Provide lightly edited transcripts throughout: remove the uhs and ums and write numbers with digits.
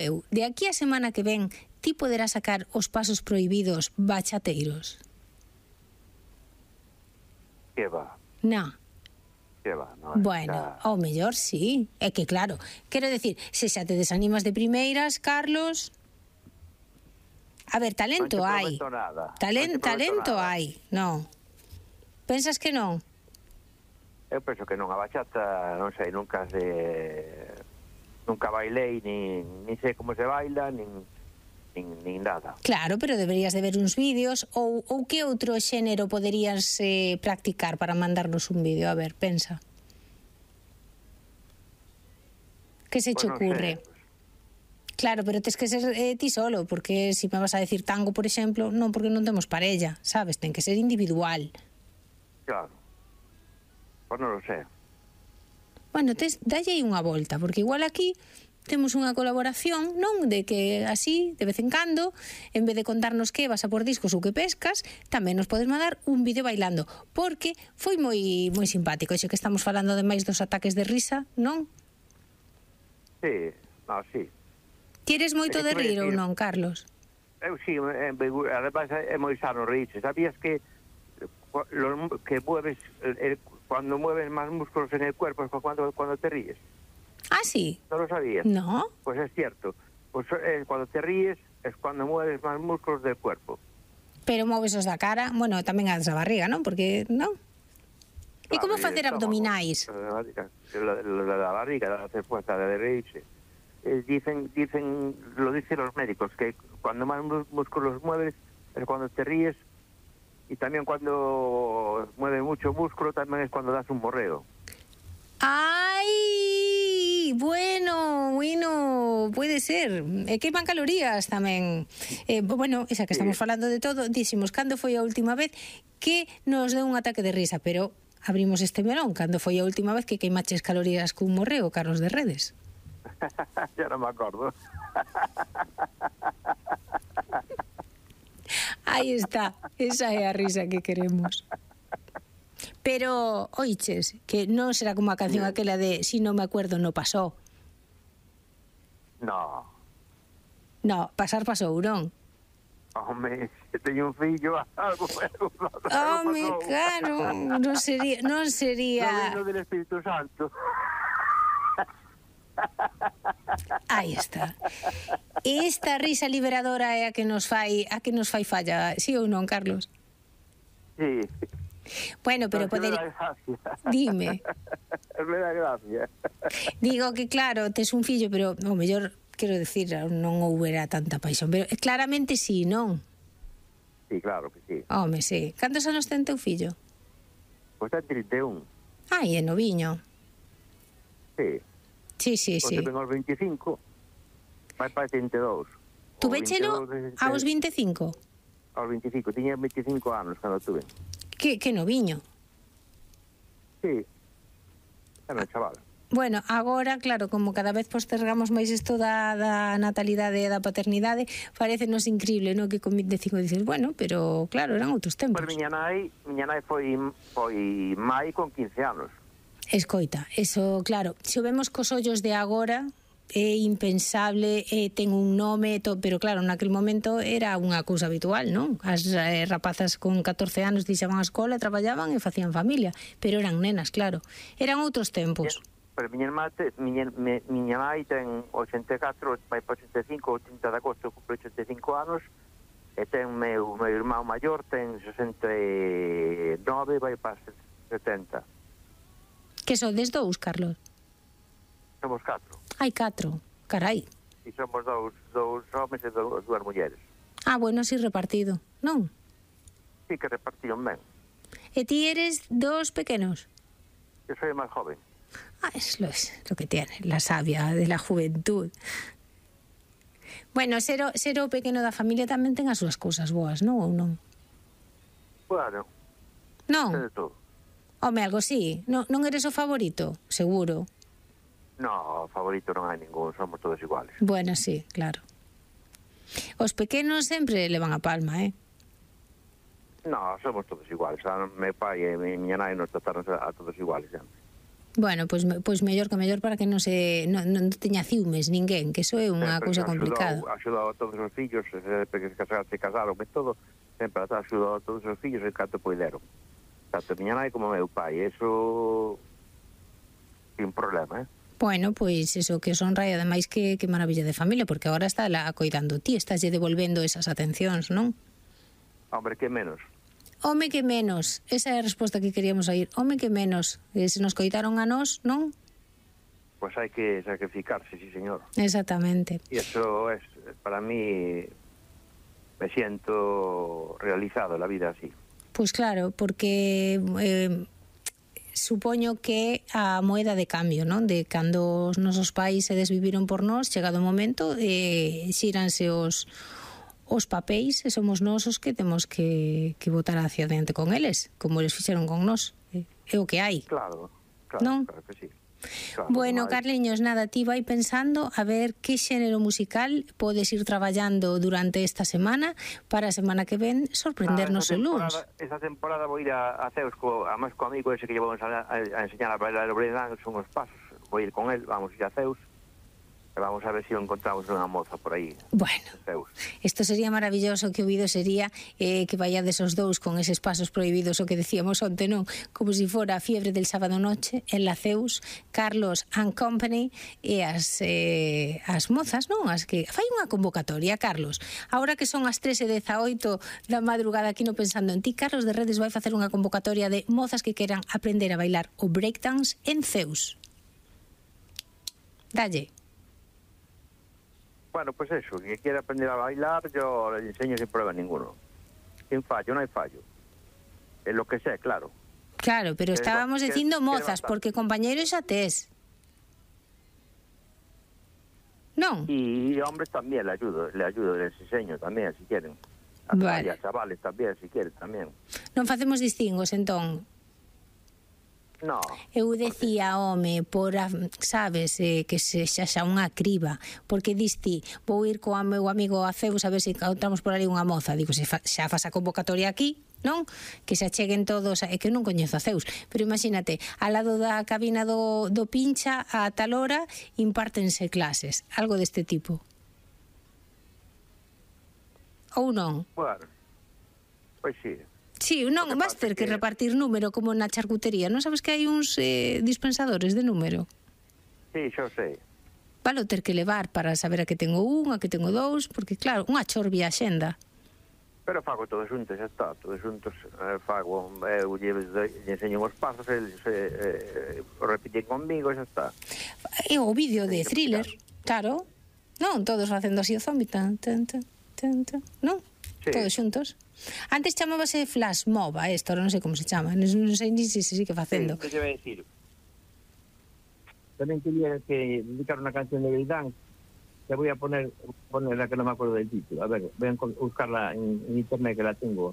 De aquí a semana que ven, ti poderás sacar os pasos prohibidos bachateiros? Que va, No. que va, non? Bueno, ao mellor sí. É que claro, quero decir, se xa te desanimas de primeiras, Carlos... A ver, talento hai. Talento hai, non. Pensas que non? Eu penso que non, a bachata, non sei, nunca bailei, nin sei como se baila, nin nada. Claro, pero deberías de ver uns vídeos ou que outro xénero poderías practicar para mandarnos un vídeo? A ver, pensa. Que se che ocurre? Claro, pero tes que ser ti solo, porque se me vas a decir tango, por exemplo, non, porque non temos parella, sabes? Ten que ser individual. Claro. Pois non lo sé. Bueno, dalle aí unha volta, porque igual aquí temos unha colaboración, non? De que así, de vez en cando, en vez de contarnos que vas a por discos ou que pescas, tamén nos podes mandar un vídeo bailando, porque foi moi simpático, xe que estamos falando ademais dos ataques de risa, non? Sí, no, sí. Ti eres moito de rir ou non, Carlos? Eu sí, además é moi sano reírse. Sabías que mueves, cuando mueves más músculos en el cuerpo es cuando te ríes? Ah, sí. ¿No lo sabías? No. Pues es cierto. Pues cuando te ríes es cuando mueves más músculos del cuerpo. Pero moves os da cara, bueno, tamén as da barriga, non? Porque, non? E como facer abdominais? La barriga, la hace fuerza de reírse. Dicen, lo dicen los médicos, que cuando más músculos mueves es cuando te ríes, y también cuando mueves mucho músculo también es cuando das un morreo. ¡Ay! Bueno, puede ser. Queiman calorías tamén. Bueno, esa que estamos falando de todo, dixemos, cando foi a última vez que nos deu un ataque de risa, pero abrimos este melón, cando foi a última vez que queimaches calorías cun morreo, Carlos de Redes? Ya non me acordo. Aí está, esa é a risa que queremos. Pero, oiches, que non será como a canción aquela de Si non me acuerdo no pasó. No. No, pasou, non? Home, se teño un fillo, algo Home, claro, non sería... No vino del Espíritu Santo. Aí está. Esta risa liberadora é a que nos fai falla, sí ou non, Carlos? Sí. Bueno, pero poder... Dime. Me da gracia. Digo que claro, tes un fillo, pero o mellor, quero decir, non houbera tanta paixón, pero claramente sí, non? Sí, claro que sí. Home, sí. Cantos anos ten teu fillo? Pois ten 31. Ai, é noviño. Sí. Sí. Pois ten aos 25. Vai para 32. Tu véchelo aos 25? Aos 25. Tiña 25 anos cando tuve. Que noviño. Sí. Era un chaval. Bueno, agora, claro, como cada vez postergamos máis isto da natalidade e da paternidade, parecenos increíble, non? Que con 25 dices, bueno, pero claro, eran outros tempos. Pois miña nai foi mai con 15 anos. Escoita, eso, claro, se o vemos cos ollos de agora, é impensable, ten un nome, pero claro, naquele momento era unha cousa habitual, non? As rapazas con 14 anos deixaban a escola, traballaban e facían familia, pero eran nenas, claro. Eran outros tempos. Pero miña nai ten 84, vai para 85, 80 de agosto, cumple 85 anos, e ten meu irmão maior, ten 69, vai para 70. Que sodes dous, Carlos? Somos 4. Hai 4, carai. E somos dous homens e dúas mulleres. Ah, bueno, así repartido, non? Sí, que repartiron ben. E ti eres dos pequenos? Eu soy máis joven. Ah, es lo que tiene, la savia de la juventud. Bueno, ser o pequeno da familia tamén ten as súas cousas boas, non ou non? Bueno, non? de todo. Home, algo sí. Non eres o favorito, seguro. No, favorito non hai ningún, somos todos iguales. Bueno, sí, claro. Os pequenos sempre levan a palma, No, somos todos iguales. Meu pai e miña nai nos trataron a todos iguales sempre. Bueno, pois mellor que mellor para que non teña ciúmes ninguén, que iso é unha cousa complicada. Axudou a todos os fillos, porque se casaron e todo, sempre axudou a todos os fillos en canto poideron. Tanto miña nai como meu pai, eso sin problema, Bueno, pois eso que son rai, ademais que maravilla de familia, porque agora está la coidando ti, estás lle devolvendo esas atencións, non? Hombre, que menos. Home que menos, esa é a resposta que queríamos oír. Home que menos, se nos coitaron a nós, non? Pois hai que sacrificarse, sí, señor. Exactamente. E eso es, para mí, me siento realizado la vida así. Pois claro, porque supoño que a moeda de cambio, non? De cando os nosos pais se desviviron por nós, chegado o momento, xíranse os papéis e somos nós os que temos que botar hacia adiante con eles, como eles fixeron con nós. É o que hai. Claro, non? Claro que sí. Claro, Bueno, Carliños, nada, ti vai pensando a ver que xénero musical podes ir traballando durante esta semana para a semana que ven sorprendernos o luns. Esta temporada vou ir a Ceus, además co amigo ese que llevamos a enseñar a bailar o breakdance, son os pasos, vou ir con él, vamos ir a Ceus. Vamos a ver se encontramos unha moza por aí. Bueno, isto sería maravilloso, que o vídeo sería que vayades os dous con eses pasos prohibidos, o que decíamos onte, non? Como se fora a fiebre del sábado noche en la Ceus, Carlos and Company e as mozas, non? As que fai unha convocatoria, Carlos. Ahora que son as 3:18 da madrugada aquí no Pensando en Ti, Carlos de Redes vai facer unha convocatoria de mozas que queran aprender a bailar o breakdance en Ceus. Dalle. Bueno, pues eso, que quiera aprender a bailar, yo le enseño sin problema ninguno. Sin fallo, no hay fallo. Es lo que sé, claro. Claro, pero estábamos dicindo mozas, porque compañeros xa tes. Non? Y hombres también le ayudo, les enseño también, si quieren. Vale. Y a chavales también, si quieren, también. Non facemos distingos, entón. No. Eu decía, home, sabes, que se xa unha criba, porque diste, vou ir co meu amigo a Ceus a ver se encontramos por ali unha moza. Digo, se xa faz a convocatoria aquí, non? Que se acheguen todos, é que eu non coñezo a Ceus, pero imagínate, ao lado da cabina do Pincha, a tal hora, impártense clases, algo deste tipo. Ou non? Bueno, pois sí. Sí, non, vas ter que repartir número como na charcutería. Non sabes que hai uns dispensadores de número? Sí, xo sei. Valo ter que levar para saber a que tengo un, a que tengo dous, porque claro, unha chorbia axenda. Pero fago todos xuntos, xa está, todos xuntos fago, eu lle enseño os pasos, eles o repiten conmigo, xa está. E o vídeo de Thriller, claro, non, todos facendo así o zombi, tan, non? Sí. Todos xuntos. Antes chamábase Flash Mob a esto, ahora non sei como se chama, non sei ni se sigue facendo. Sí, que te vai decir? Tamén quería que dedicar unha canción de breakdance. Te voy a poner la que no me acuerdo del título. A ver, voy a buscarla en internet, que la tengo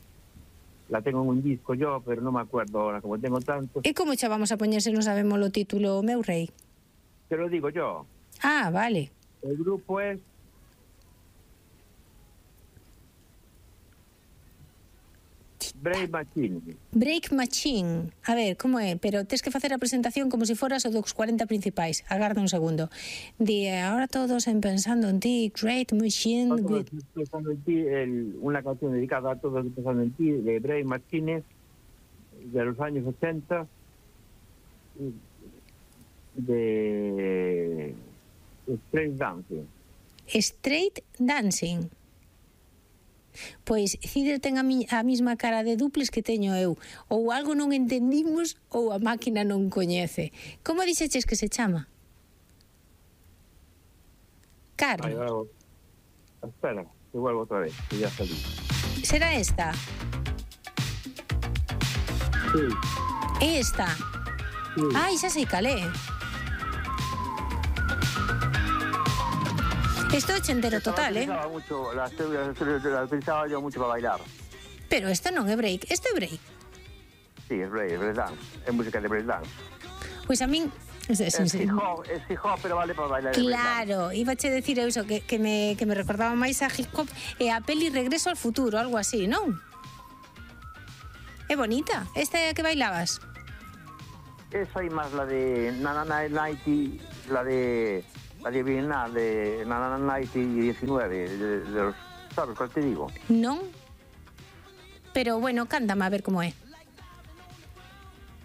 en un disco yo, pero no me acuerdo ahora, como tengo tantos. E como xa vamos a poñer se non sabemos o título, meu rei? Te lo digo yo. Ah, vale. El grupo es Break Machine. Break Machine. A ver, como é? Pero tes que facer a presentación como se foras o dos 40 principais. Agarda un segundo. Ahora todos en Pensando en Ti, Great Machine. Pensando en Ti, una canción dedicada a todos Pensando en Ti, de Break Machine, de los años 80, de Straight Dancing. Straight Dancing. Pois Cider ten a mesma cara de duples que teño eu. Ou algo non entendimos ou a máquina non coñece. Como dixeches que se chama? Carlos. Espera, que vuelvo otra vez, que ya salí. Será esta? Sí. Esta? Sí. Ai, xa sei calé. Esto é ochentero total, La utilizaba yo mucho para bailar. Pero esta non é break, este é break. Sí, es breakdance, es música de breakdance. Pois a min... Es hip hop, pero vale para bailar. Claro, iba a decir eso, que me recordaba máis a hip hop e a peli Regreso al Futuro, algo así, non? É bonita, esta é a que bailabas. esa y más la de Nanana Nighty, la de Vietnam, de Nanana Nighty 19, de los, ¿sabes cuál te digo? Non? Pero bueno, cántame a ver como é.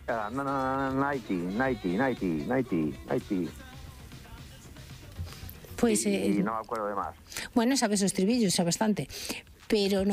Nanana Nighty. Pois, Y no me acuerdo de más. bueno, sabes o estribillo, xa bastante. Pero